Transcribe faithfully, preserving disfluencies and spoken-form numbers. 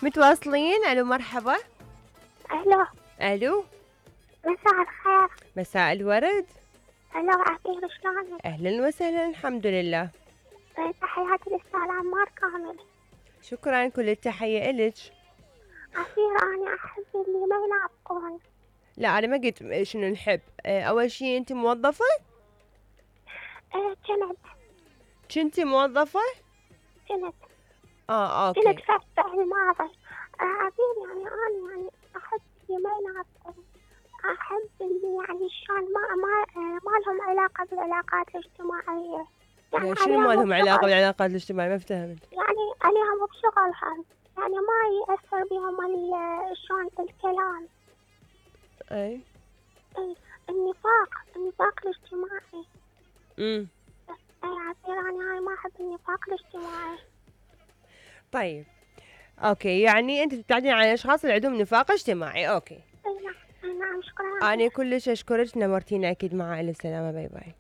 متواصلين. الو مرحبا. الو الو مساء الخير. مساء الورد. الو عفير شلونك؟ اهلا وسهلا الحمد لله. تحياتي للأستاذ عمار كامل. شكرا كل التحية إلك. عفير أنا أحب اللي ما يلعبون. لا أنا ما قلت شنو نحب. أول شي أنت موظفة؟ ايه كنت. كنتي موظفة؟ كنت. اه اوكي. كنت في الفعل الماضي. آه عفير يعني أنا يعني أحب اللي ما يلعبون. أحب اللي يعني شلون ما ما ما لهم علاقة بالعلاقات الاجتماعية. يعني شنو ما لهم علاقة بالعلاقات الاجتماعية؟ ما فهمت. يعني عليهم بشغلهم، يعني ما يأثر بهم شلون الكلام. اي اي النفاق، النفاق الاجتماعي. امم اي عفير انا هاي ما احب النفاق الاجتماعي. طيب اوكي، يعني انت تبتعدين عن الاشخاص اللي عندهم نفاق اجتماعي. اوكي. اي نعم. اي نعم شكرا. انا كلش اشكرك، نورتينا اكيد. مع الف سلامة. باي باي.